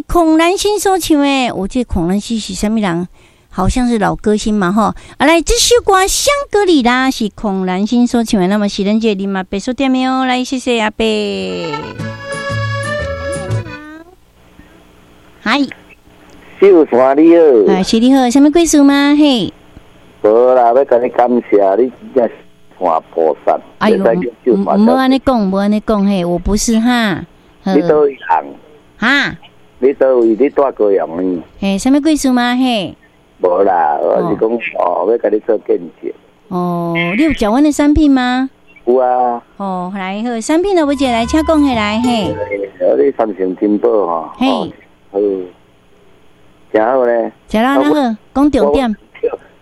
孔蘭心所唱的，我這孔蘭心是啥物人？好像是老歌星嘛，吼！啊，來，這首歌《香格里拉》是孔蘭心所唱的，那麼是咱這個林阿伯所點的哦。來，謝謝阿伯。嗨，秀山你好。哎，是你好，啥物貴事嗎？嘿。無啦，欲共你感謝你，真正是菩薩。哎喲，毋好按呢講，毋好按呢講，嘿，我不是哈。你佗位人？哈？你佗位？你住高雄呢？嘿，啥物貴事嗎？嘿。無啦，我是講哦，欲共你做見證。哦，你有食阮的產品嗎？有啊。哦，來好，產品都欲食來，請講起來嘿。哦，你三星珍寶吼。嘿。好，誠好咧。食了哪好？講重點。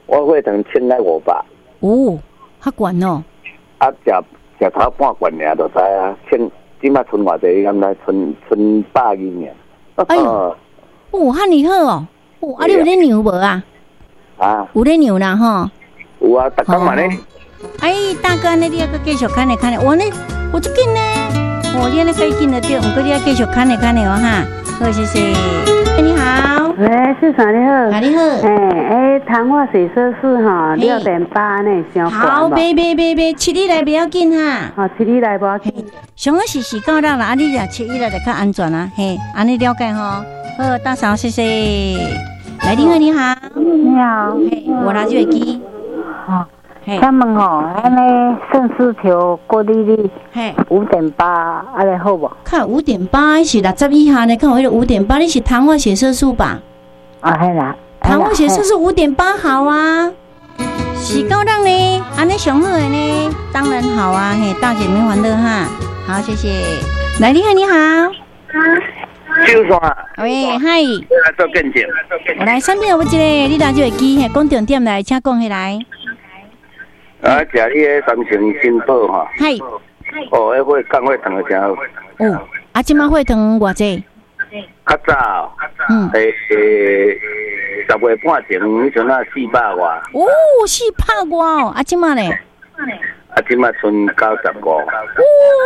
我血糖稱來500。哦，較懸哦。啊，食食頭半罐爾就知啊，稱這擺賰偌濟，你敢知？賰賰120爾。哎喲，哦，遐爾好哦。哦，啊，你有咧量無啊？啊，有咧量啦吼。有啊，逐工嘛咧。哎，大哥，按呢你猶閣繼續牽咧牽咧，我呢，我足緊呢。哦，你按呢計緊就對，毋過你愛繼續牽咧牽咧哦哈。好，謝謝。你好。喂，秀山你好。啊，你好。哎哎，糖化血色素吼，6.8呢，傷懸。好，袂袂袂袂，七日內袂要緊哈。好，七日內無要緊。上好是4到6啦，啊，你若七日內就較安全啊，嘿，按呢了解吼。好，大嫂，謝謝。來，你好，你好。你好。嘿，我拿就會記。哦，請問吼，按呢腎絲球過濾率，嘿，5.8，按呢好無？看5.8是60以下呢，看有彼个5.8，你是糖化血色素吧？啊，嘿啦。糖化血色素五點八好啊，是夠讓呢，按呢上好的呢，當然好啊，嘿，大姐免煩惱哈。好，謝謝。來，你好，你好。秀山。喂，嗨。來做見證。我來，產品有無一个，你拿就會記，嘿，講重點來，請講起來。啊，食你个三星珍寶吼。嗨。哦，彼血降血糖的誠好。哦，啊，這擺血糖偌濟？較早。欸，10月半前，彼陣啊400外。哦，400外哦，啊，這擺咧？啊，這擺賰95。哦，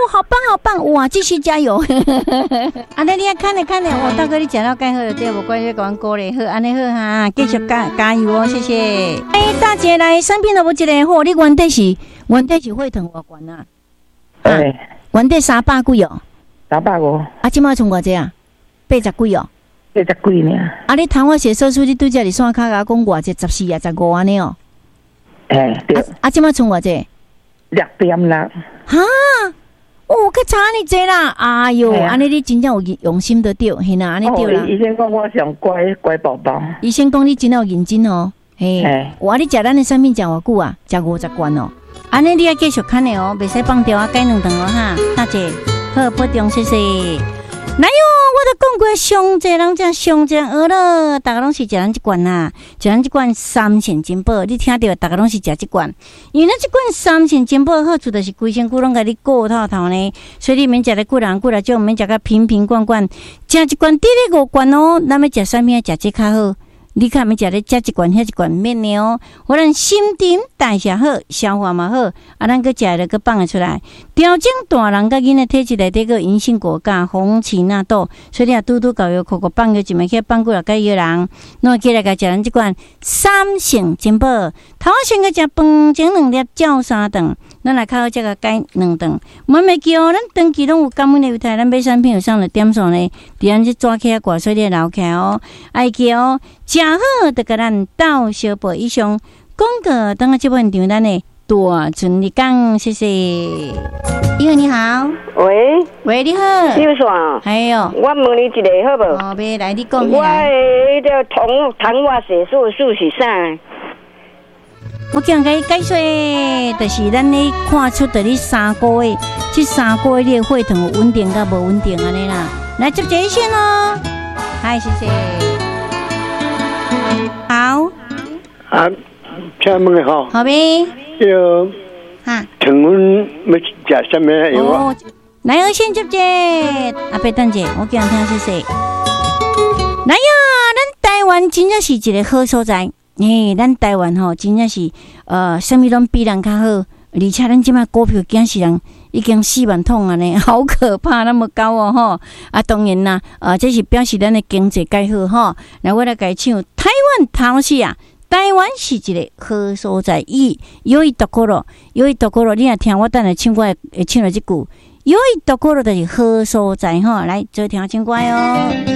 好棒好棒，哇，繼續加油！按呢你愛看咧看咧，哦，大哥你食了蓋好就對，無關係，共阮鼓勵好，按呢好哈，繼續加加油哦，謝謝。欸，大姐來，產品都無一个好，你原底是血糖偌懸啊？欸，原底300幾哦。350。啊，這擺賰偌濟啊？80幾哦。80幾爾。啊，你糖化血色素，你拄才佇線跤共我講偌濟？14啊，15按呢哦。欸，對。啊，這擺賰偌濟？ 6.6。哈！哦，閣差按呢濟啦！哎喲，按呢你真正有用心就對，嘿啦，按呢對啦。醫生講我上乖乖寶寶。醫生講你真有認真哦，嘿。哇，你食咱的產品食偌久啊？食50罐哦。按呢你愛繼續牽的哦，袂使放掉啊，改兩頓哦哈。大姐，好，保重，謝謝。來喲，我都講過，上濟人食，上濟人學了，逐家攏是食咱這罐啊，食咱這罐三星珍寶，你聽著，逐家攏是食這罐，因為咱這罐三星珍寶好處就是規身軀攏共你顧透透呢，所以你免食得久人久來少，毋免食甲瓶瓶罐罐，食一罐得咧五罐哦，咱欲食啥物啊？食這較好。你較免食咧，食一罐遐一罐免的哦。予咱新陳代謝好，消化嘛好，啊，咱閣食了閣放會出來。調整大人佮囡仔體質內底閣銀杏果鉀、紅芪納豆，所以你若拄拄厚藥扣扣放藥一暝起來放幾若蓋藥人，攏會起來共食咱這罐三星珍寶。頭先閣食飯前兩粒，照三頓。咱來較好才共改兩頓。毋袂記哦，咱長期攏有感恩的猶太，咱買產品有送的點數呢？佇咱這紙起掛，所以你留起來哦。愛記哦，食好就共咱鬥相報。以上廣告，等下這本場咱的大春日講，謝謝。你好，你好。喂。喂，你好。秀山。哎喲。我問你一個好無？哦，欲來，你講。我的彼個糖化血色素是啥？我今共你解說，就是咱咧看出佇你三個月，這三個月你的血糖有穩定佮無穩定按呢啦。來接一線咯，嗨，謝謝。好。啊，請問吼。好咩？這個。哈。糖分欲食啥物藥啊？來，我先接者。阿伯等者，我今聽謝謝。來呀，咱台灣真正是一個好所在。嘿，咱台灣吼，真正是，啥物攏比人較好，而且咱這擺股票驚死人，已經4萬桶按呢，好可怕，那麼高哦吼！啊，當然啦，啊，這是表示咱的經濟蓋好吼。來，我來共伊唱台灣頭是啊，台灣是一个好所在。伊良いところ，良いところ，你若聽我等下唱歌會唱著這句，良いところ就是好所在吼。來，做聽唱歌哦。